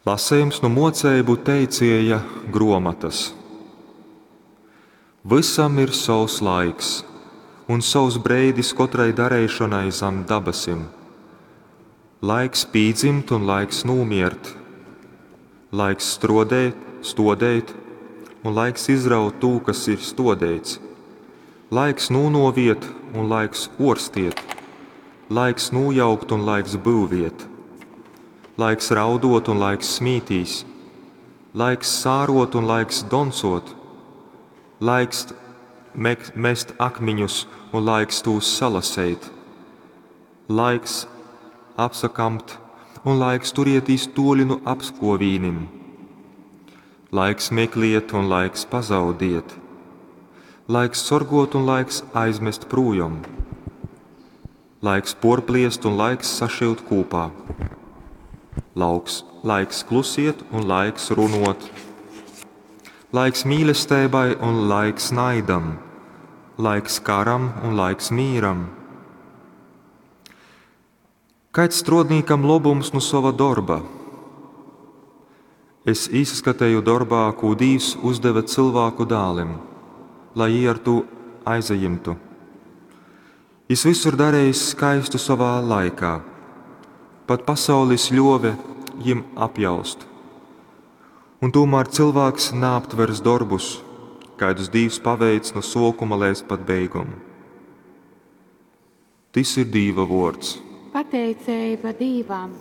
Lasejums nu Muoceibu teicieja gruomotys. Vysam ir sovs laiks un sovs breidis kotrai dareišonai zam dabasim. Laiks pīdzimt un laiks nūmiert, laiks struodēt, stuodeit un laiks izraut tū, kas ir stuodeits, laiks nūnuoviet un laiks uorstiet, laiks nūjaukt un laiks byuviet, laiks rauduot un laiks smītīs, laiks sāruot un laiks doncuot, laiks mest akmiņus un laiks tūs salaseit, laiks apsakampt un laiks turietīs tuoļi nu apskuovīnim, laiks mekliet un laiks pazaudiet, laiks sorguot un laiks aizmest prūjom, laiks puorpliest un laiks sašyut kūpā. Lauks, laiks klusiet un laiks runuot, laiks mīlestībai un laiks naidam, laiks karam un laiks mīram. Kaids struodnīkam lobums nu sova dorba? Es īsaskateju dorbā, kū Dīvs uzdeve cylvāku dālim, lai jī ar tū aizajimtu. Jis vysu ir darejis skaistu sovā laikā. Pat pasaulis ļuove jim apjaust. Un tūmār cylvāks naaptvers dorbus, kaidus Dīvs paveic nu suokuma leidz pat beigom. Tys ir Dīva vuords. Pateiceiba Dīvam.